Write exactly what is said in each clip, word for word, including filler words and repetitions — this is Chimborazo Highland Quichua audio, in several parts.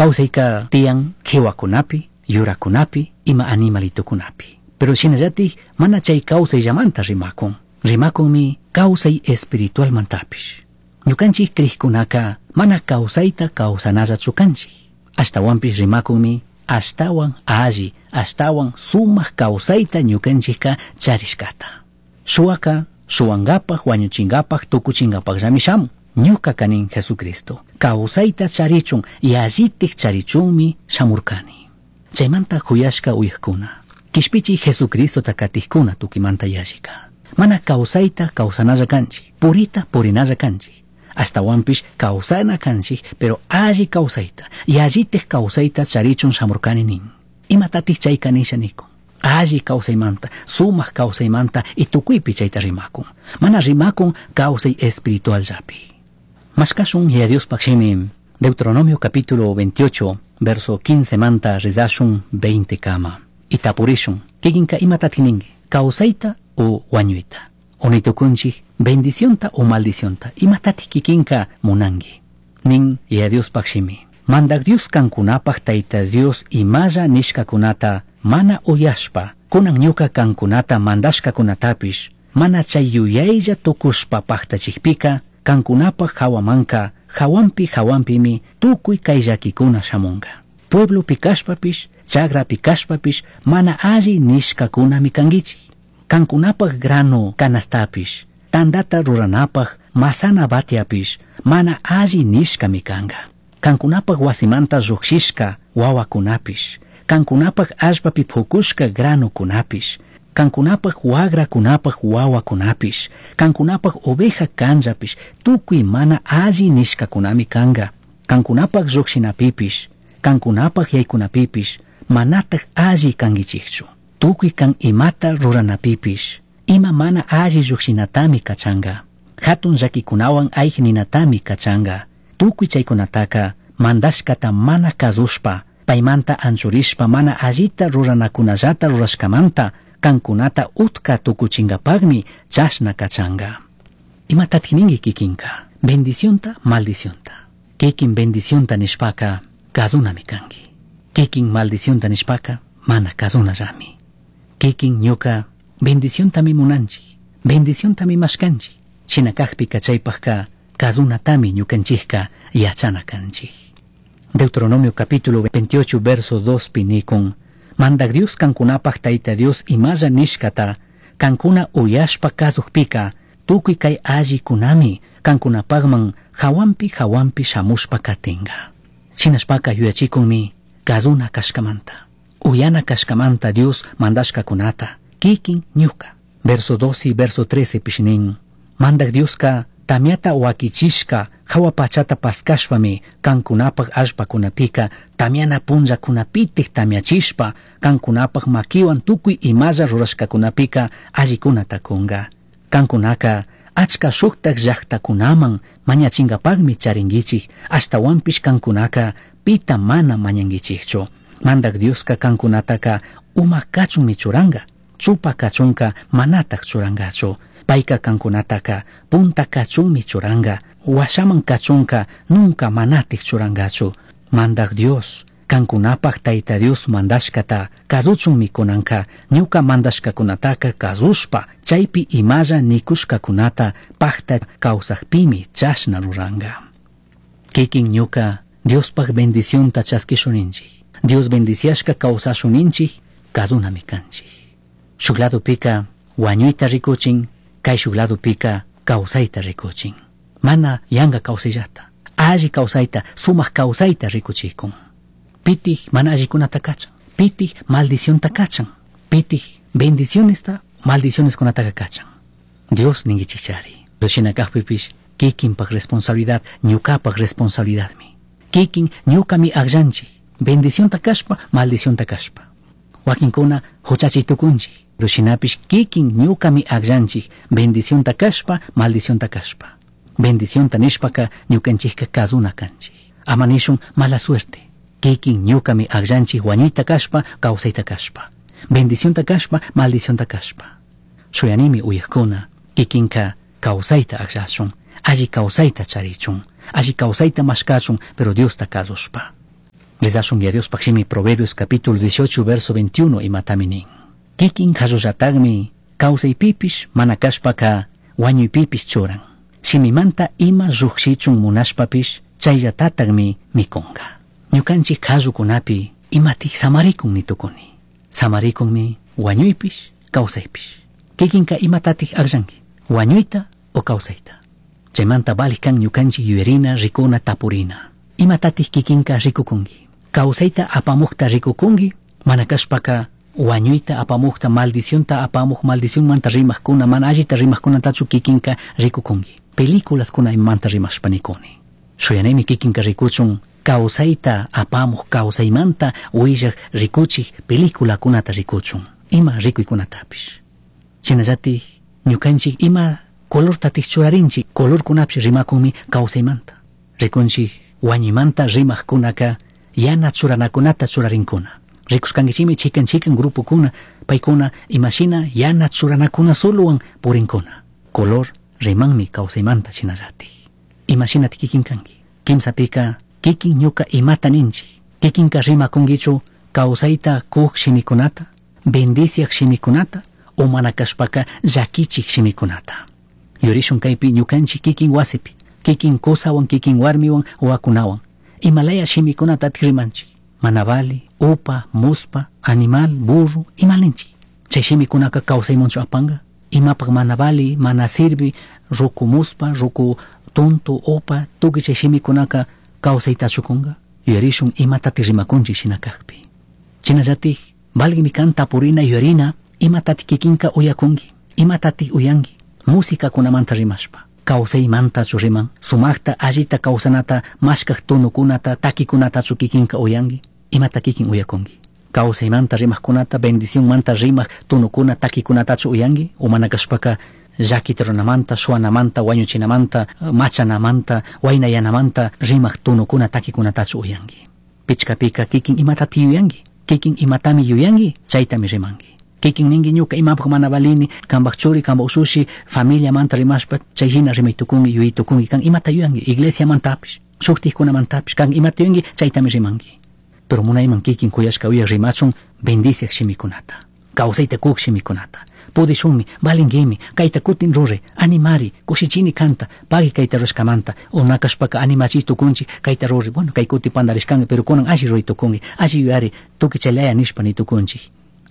Kawsayka tiyan qiwakunapi, yurakunapi, ima animalitukunapi. Pero shinallatik mana chay kawsayllamanta rimakun. Rimakunmi kawsay espiritualmantapish. Ñukanchik krikkunaka mana kawsayta kawsanallachu kanchik. Ashtawanpish rimakunmi ashtawan alli, ashtawan sumak kawsayta ñukanchikka charishkata. Shuwaka shuwankapaj, wañuchinkapaj, tukuchinkapajllami shamun. Ñuka kanin Jesucristo. Kawsayta charichun, yallitik charichunmi shamurkani. Chaymanta huyashka uyajkuna. Kishpichi Jesucristota katijkuna tukimanta yallika. Mana kawsayta kawsanalla kanchik, purita purinalla kanchik. Ashtawanpish kawsana kanchik, pero alli kawsayta, yallitik kawsayta charichun shamurkani nin. Imatatik chayka nisha nikun. Alli kawsaymanta, sumak kawsaymanta y tukuypi chayta rimakun. Mana rimakun kawsay espiritual llapi. Mashkashun Yaya Diospaj shimi, Deuteronomio capítulo veintiocho, verso quince manta rizashun veinte kama. Y tapurishun, kikinka imatatik ninki, kawsayta o wañuyta. Onitukunchik, bendicionta o maldicionta, imatatik kikinka munanki. Nin Yaya Diospaj shimi. Mandak Dios kankunapaj Tayta Dios imalla nishkakunata mana uyashpa, kunan ñuka kankunata mandashkakunatapish, mana chay yuyaylla tukushpa paktachikpika, kankunapaj hawamanka, hawanpi hawanpimi tukuy kay llakikuna shamunka. Pueblopi kashpapish, chagrapi kashpapish, mana alli nishkakunami kankichik. Kankunapaj grano canastapish, tandata ruranapaj masana batiapish, mana alli nishkami kanka. Kankunapaj wasimanta llujshishka wawakunapish, kankunapaj allpapi pukushka granukunapish, kankunapaj wagrakunapaj wawakunapish, kankunapaj oveja kanllapish, tukuy mana alli nishkakunami kanka. Kankunapaj llujshinapipish, kankunapaj yaykunapipish, manataj alli kankichikchu. Tukuy kan imata ruranapipish, ima mana alli llujshinatami kachanka. Hatun llakikunawan ayninatami kachanka. Tukuy chaykunataka mandashkata mana kasushpa, paymanta anchurishpa mana allita ruranakunallata rurashkamanta, kankunata utka tukuchinkapakmi chashna kachanka. Imatatik ninki kikinka? Bendicionta, maldicionta. Kikin bendicionta nishpaka kasunami kanki. Kikin maldicionta nishpaka mana kasunallami. Kikin ñuka bendiciontami munanchik, bendiciontami mashkanchik. Shina kakpika chaypajka kasunatami ñukanchikka yachana kanchik. Deuteronomio capítulo veintiocho verso dos pinikun, Mandak Dios kankunapaj Tayta Dios imalla nishkata, kankuna uyashpa kasukpika, tukuy kay allikunami kankunapajman hawanpi hawanpi shamushpa katinka. Shinashpaka yuyachikunmi kasuna kashkamanta, uyana kashkamanta Dios mandashkakunata, kikin ñuka. Verso doce y verso trece pishinin, Mandak Dioska tamiata wakichishka hawa pachata paskashpami kankunapaj allpakunapika tamiana punllakunapitik tamiachishpa kankunapaj makiwan tukuy imalla rurashkakunapika allikunata kunka. Kankunaka achka shuktak llaktakunaman mañachinkapakmi charinkichik, ashtawanpish kankunaka pita mana mañankichikchu. Mandak Dioska kankunataka uma kachunmi churanka, chupa kachunka manatak churankachu. Payka kankunataka punta kachunmi churanka, washaman kachunka nunca manatik churankachu. Mandak Dios, kankunapaj Tayta Dios mandashkata kasuchunmi kunanka, ñuka mandashkakunataka kasushpa, chaypi imalla nikushkakunata pakta kawsakpimi chashna ruranka. Kikin ñuka Diospaj bendicionta chaskishuninchik. Dios bendiciashka kawsashuninchik, kasunami kanchik. Shuk ladopika wañuyta rikuchin, kay shuk ladopika kawsayta rikuchin. Mana yanka kawsayllata, alli kawsayta, sumak kawsayta rikuchikun. Pitik mana allikunata kachan, pitik maldicionta kachan, pitik bendicionesta maldicioneskunataka kachan. Dios ninkichikchari. Shina kakpipish kikinpak responsabilidad, ñukapak responsabilidadmi. Kikin ñukami akllanchik, bendicionta kashpa, maldicionta kashpa. Wakinkuna huchachi tukunchik, shinapish kikin ñukami akllanchik, bendicionta kashpa, maldicionta kashpa. Bendicionta nishpaka ñukanchikka kasuna kanchik. Ama nishun mala suerte. Kikin ñukami akllanchik wañuyta kashpa, kawsayta kashpa. Bendicionta kashpa, maldicionta kashpa. Shuyanimi uyajkuna, kikinka kawsayta akllashun, alli kawsayta charichun, alli kawsayta mashkachun, pero Diosta kasushpa. Rezashun Yaya Diospaj shimi Proverbios capítulo dieciocho verso veintiuno imatami nin. Kikin qallullatajmi kawsaypipish mana kashpaka wañuypipish churan. Shimimanta ima llujshichun munashpapish chayllatatajmi mikunka. Ñukanchik qallukunapi imatik samarikun nitukuni. Samarikunmi wañuypish kawsaypish. Kikinka imatatik akllanki, wañuyta o kawsayta. Chaymanta valij kan ñukanchik yuyarina, rikuna, tapurina. Imatatik kikinka rikukunki. Kawsayta apamukta rikukunki, mana kashpaka wañuyta apamukta, maldicionta apamuk, maldicionmanta rimajkuna, mana allita rimajkunatachu kikinka rikukunki. Películaskuna imamanta rimashpa nikuni. Shuyanaymi kikinka rikuchun kawsayta apamuk, kawsaymanta willak rikuchik peliculakunata rikuchun, ima rikuykunatapish. Shinallatik ñukanchik ima colortatik churarinchik, colorkunapish rimakunmi kawsaymanta. Rikunchik wañuymanta rimajkunaka yana churanakunata churarinkuna. Rikushkankichikmi chikan chikan grupokuna, paykuna imashina yana churanakuna solowan purinkuna. Color rimanmi kawsaymanta shinallatik. Imashinati kikin kanki. Kimsapika kikin ñuka imata ninchik. Kikinka rimakunkichu kawsayta kuk shimikunata, bendiciak shimikunata, o mana kashpaka llakichik shimikunata. Yurishun kaypi ñukanchik kikin wasipi, kikin kusawan, kikin warmiwan, wawakunawan. Imalaya shimikunatatik rimanchik. Mana vali, upa, muspa, animal, burro, imalinchik. Chay shimikunaka kawsaymanchu apanga. Imapak mana vali, mana sirvi, ruku muspa, ruku tonto, opa, tukuy chay shimikunaka kawsaytachu kunka. Yuyarishun imatatik rimakunchik shina kakpi. Shinallatik valgimi kan tapurina yuyarina imatatik kikinka uyakunki, imatatik uyanki. Musikakunamanta rimashpa, kawsaymantachu riman, sumakta allita kawsanata mashkak tonokunata, takikunatachu kikinka uyanki, imata kikin uyakunki. Kawsaymanta rimajkunata, bendicionmanta rimak tonokuna, takikunatachu uyanki, o mana kashpaka llakita runamanta, shuanamanta, wañuchinamanta, machanamanta, waynayanamanta rimak tonokuna, takikunatachu uyanki. Pichkapika kikin imatati yuyanki, kikin imatami yuyanki, chaytami rimanki. Kikin ninki ñuka imapak mana valini, kanpak churi, kanpak ushushi, familiamanta rimashpa, chay hina rimay tukunki, yuyay tukunki, kan imata yuyanki, iglesiamantapish, shuktikkunamantapish, kan imata yuyanki, chaytami rimanki. Pero munayman kikin kuyashka uyak rimachun bendiciak shimikunata, kawsayta kuk shimikunata. Pudishunmi, valinkimi, kayta kutin ruray, animari, kushichini kanta, pagui kayta rurashkamanta, o nakashpaka animachi tukunchik, kayta ruray, bueno, kay kuti pandarishkanki, pero kunan alli ruray tukunki, alli yuyari, tukuy chaylaya nishpa ni tukunchik.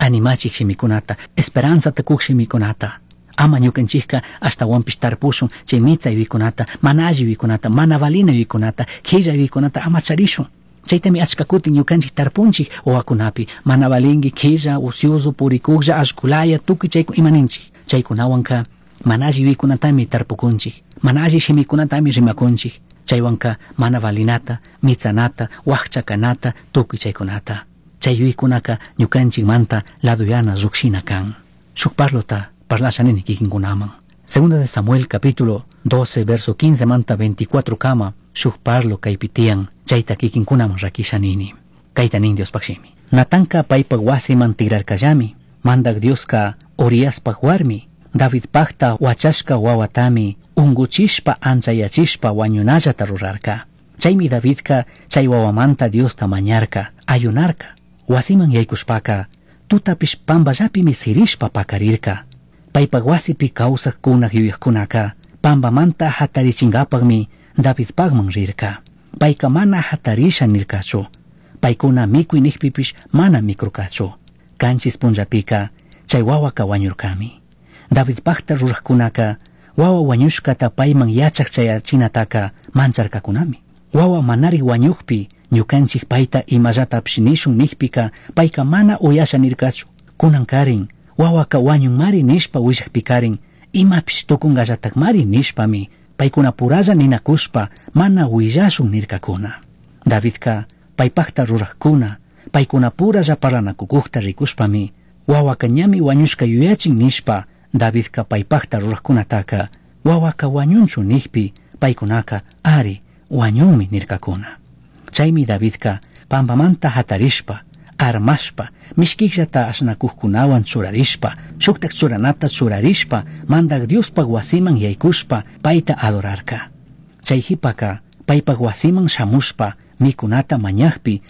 Animachik shimikunata, esperanzata kuk shimikunata. Ama ñukanchikka ashtawanpish tarpushun chay mitsa yuyaykunata, mana alli yuyaykunata, mana valina yuyaykunata, qhilla yuyaykunata ama charishun. Chaytami achka kutin ñukanchik tarpunchik wawakunapi, mana valinki, qhilla, ocioso, purikuklla, allkulaya, tukuy chayku imaninchik. Chaykunawanka mana alli yuyaykunatami tarpukunchik, mana alli shimikunatami rimakunchik. Chaywanka mana valinata, mitsanata, wakchakanata, tukuy chaykunata. Chay yuyaykunaka ñukanchikmanta laduyana llukshina kan. Shuk parlota parlasha nini kikinkunaman. Segunda de Samuel capítulo doce verso quince manta veinticuatro kama shuk parlo kaypi tiyan chayta kikinkunaman rakisha nini. Kayta nin Diospaj shimi. Natanka paypak wasiman tigrarkallami, mandak Dioska Uriaspaj warmi, Davidpajta wachashka wawatami unguchishpa anchayachishpa wañunallata rurarka. Chaymi Davidka chay wawamanta Diosta mañarka, ayunarka. Wasiman yaykushpaka, tutapish pampallapimi sirishpa pakarirka. Paypak wasipi kawsajkuna yuyajkunaka, pampamanta hatarichinkapakmi Davidpakman rirka. Payka mana hatarisha nirkachu. Paykuna mikuy nikpipish mana mikurkachu. Kanchis punllapika chay wawaka wañurkami. Davidpakta rurajkunaka, wawa wañushkata payman yachak chayachinataka mancharkakunami. Wawa manari wañukpi, ñukanchik payta imallatapish nishun nikpika, payka mana uyasha nirkachu. Kunan karin, wawaka wañunmari nishpa willakpikarin, imapish tukungallatakmari nishpami, paykuna puralla ninakushpa mana willashun nirkakuna. Davidka paypakta rurajkuna, paykuna puralla parlanakukukta rikushpami, wawaka ñami wañushka yuyachin nishpa, Davidka paypakta rurajkunataka, wawaka wañunchu nikpi, paykunaka ari wañunmi nirkakuna. Chaymi Davidka pampamanta hatarishpa, armashpa, mishkikllata ashnakukkunawan churarishpa, shuktak churanata churarishpa, mandak Diospaj wasiman yaykushpa, payta adorarka. Chay hipaka paypaj wasiman shamushpa, mikunata mañajpi,